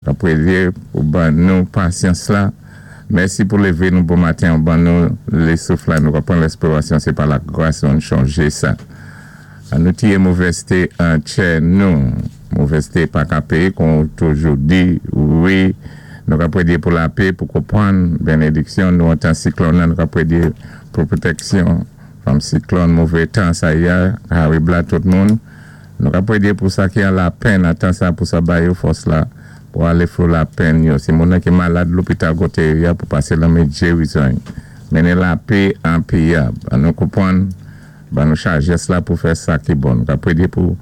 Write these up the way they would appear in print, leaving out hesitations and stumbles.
Ka prédyé pou ban nou pasyans la. Mèsi pou lévé nou bon maten, ou ban nou lé souf la, nou ka pran lèspirasyon, sé pa la gras ou, an chonjé sa. An nou tiyé movèzté an tchè nou. Movèzté pa ka péyé kon ou toujou di. Wi, nou ka prédyé pou lapé, pou konpwann benediksyon nou an tan siklòn nan, nou ka prédyé pou pwotèksyon fanm siklòn, mové tan sa ya, harib la tout moun. Nou ka prédyé pou sa ki an lapenn an tan sa pou sa ba yo fòs la pou alé flo lapenn yo. Si moun nan ki malad lopital koté yo ya pou pasé lanmé djerizon y. Mennen lapé an péyi a. Ban nou konpwann, ban nou chajès la pou fè sa ki bon. Nou ka prédyé pou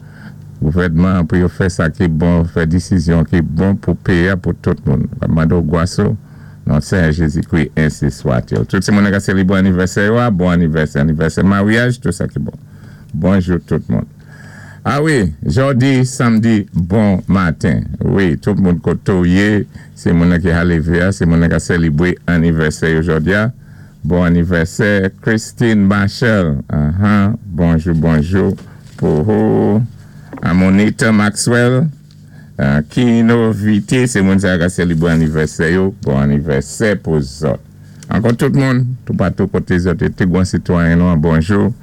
gouvèdman an pou yo fè sa ki bon, fè disizyon ki bon pou péyi a pou tout moun. Nou ka mandé w gwas ou non Senyè Jézikri ensi swatil. Tout ti moun nan ka sélébré anivèsè yo a, bon anivèsè, anivèsè maryaj, tout sa ki bon. Bonjou tout moun. A wi, jòdi samdi bon maten. Wi, tout moun koté w yé, sé moun nan ki ha lévé a, sé moun nan ka sèlibré anivèsè yo jòdi a. Bon anivèsè Christine Machel. Ahan, bonjou bonjou pou ou. Amonita Maxwell, Kino Vite, sé moun sa yo ka sèlibré anivèsè yo. Bon anivèsè pou zòt. Ankò tout moun, toupatou koté zòt yé, ti gwan sitwayen nou an bonjou.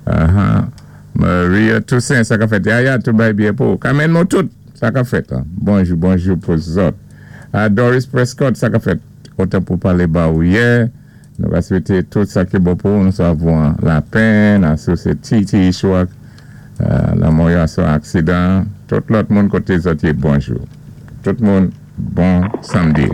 Ahan. Maria Toussaint, sa ka fèt? Yaya tou bay byè pou ou. Carmen Montout, sa ka fèt? Bonjou, bonjou pou zòt. Doris Prescott, sa ka fèt? Kontan pou palé ba ou yè. Nou va swété tout sa ki bon pou ou. Nou savon lapenn, asou sé ti ti ichwa lanmò yo asou aksidan. Tout lòt moun koté zòt yé, bonjou. Tout moun, bon samdi.